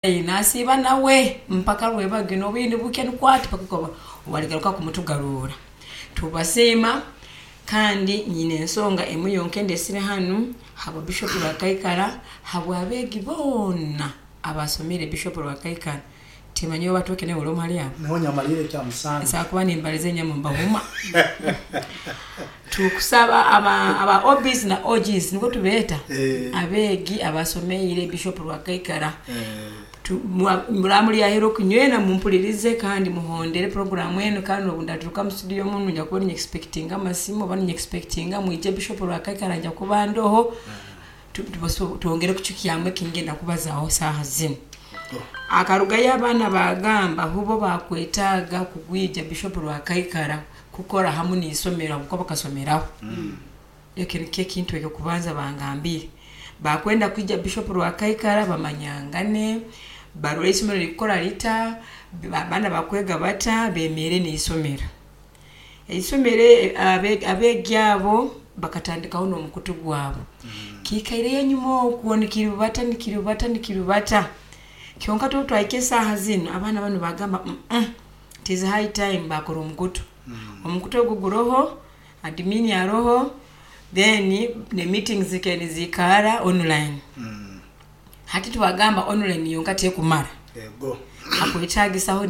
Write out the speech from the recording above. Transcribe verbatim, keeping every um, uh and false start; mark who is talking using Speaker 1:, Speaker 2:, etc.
Speaker 1: Nasiiba nawe mpaka rwebagyo n'obwire nibukya nukwati paka waligaruka kumutugarurra. Tubasiima, kandi nyine ensonga emu yonka endesire hanu habwa Bishop Rwakaikara, habw'abeegi boona abasomere Bishop Rwakaikara. Timanya oba batooke nawe ori hali abo.
Speaker 2: Niho nyamalire ekya musanju.
Speaker 1: Nsobola kuba nimbaliza enyama mbahuma. Tukusaba aba, aba O Bs na O Gs, niko tubeeta,
Speaker 2: Eh.
Speaker 1: abeegi abasomeire Bishop Rwakaikara.
Speaker 2: Eh.
Speaker 1: Tu- mwa- muraba muli aheeru okunywena, mumpulirize kandi muhondere programu enu. Kandi obu ndaturuka mu studio munu, nja kuba ninyexpectinga amasimu oba ninyexpectinga mwije Bishop Rwakaikara, nja kuba ndoho. Tu- tubaso- twongere kucukyamu ekingenda kubazaho saaha zinu. Akarugayo abaana bagamba hubo bakwetaaga kugwija Bishop Rwakaikara kukora hamu n'isomero habwokuba bakasomeraho. Ekyo nikyo ekintu ekyokubanza bangambire: bakwenda kwija Bishop Rwakaikara bamanyangane, barole isomero likukora lita, abaana bakwega bata, bemeere n'isomero. Isomero abe- abeegi abo bakatandikaho n'omukutu gwabo. Kiikaireyo enyuma okwo nikirubata, nikirubata, nikirubata, kyonka tuba twahika esaaha zinu, abaana banu bagamba, "Mm it is high time." Bakora omukutu. Omukutu ogu guroho admin aroho, then ne meetings zikaire niziikara online.
Speaker 2: Mm.
Speaker 1: Hati twagamba online yonka tekumara,
Speaker 2: Ego.
Speaker 1: hakwetagisaho.